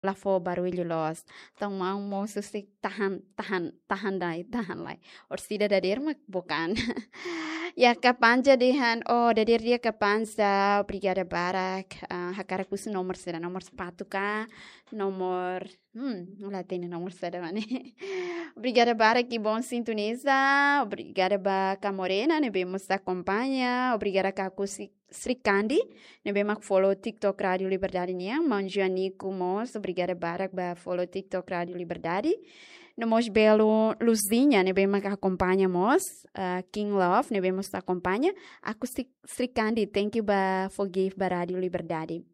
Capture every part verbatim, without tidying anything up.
la fó barullu loos. Entaun maun mós husik tahan, tahan, tahan lai, tahan lai. Orsida dadeer mak bukan. Ya, Kapanja dehan, oh, dadeer di'ak Kapanja, obrigada barak. Ah, hakarak husu nomor saida, nomor sapatu ka, nomor, hmm, la hatene nomor saida mak ne'e. Obrigada barak, Ibon Sintoniza, obrigada ba Ka Morena, ne'ebé mós akompaña, obrigada Kaku Si-, Srikandi, ne'ebé mak follow TikTok Rádio Liberdade nian, maun Joanico mós, obrigada barak ba follow TikTok Rádio Liberdade. No mós belu Luzinha, ne'ebé mak akompaña mós, ah, King Love, ne'ebé mós akompaña. Aku Sri-, Srikandi, thank you ba forgive ba Rádio Liberdade.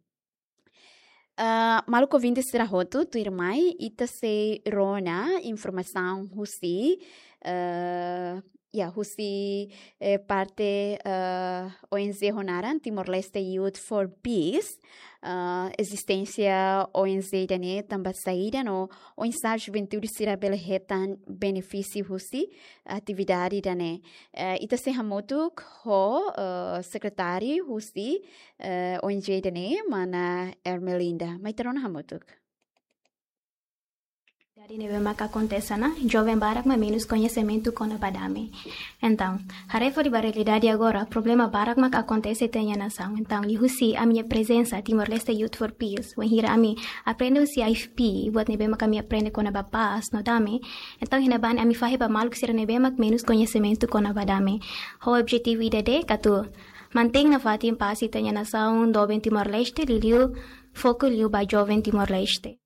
Ah, maluk ouvinte sira hotu, tuirmai, ita sei rona informasaun husi, ah, ya, husi, eh, parte, ah, O N G ho naran Timor-Leste Youth for Peace, ah, ezisténsia O N G ida-ne'e tanba saida no oinsá juventude sira bele hetan benefísiu husi atividade ida-ne'e. Eh, ita sei hamutuk ho, eh, sekretáriu husi, eh, O N G ida-ne'e, mana Ermelinda. Mai ita rona hamutuk. Jadi ne'ebé maka akontese ona, joven barak mak menus koñesimentu kona-ba dame. Entaun, haree fali ba realidade agora, problema barak mak akontese iha ita-nia nasaun. Entaun, liuhusi ami-nia prezensa Timor-Leste Youth for Peace, wainhira ami aprende husi I F P, buat ne'ebé mak ami aprende kona-ba pás no dame. Entaun, iha ne'ebá ne'e ami fahe ba maluk sira ne'ebé mak menus koñesimentu kona-ba dame. Ho objetivu ida de'it atu mantein nafatin pás iha ita-nia nasaun, doben Timor-Leste, liuliu foku liu ba joven Timor-Leste.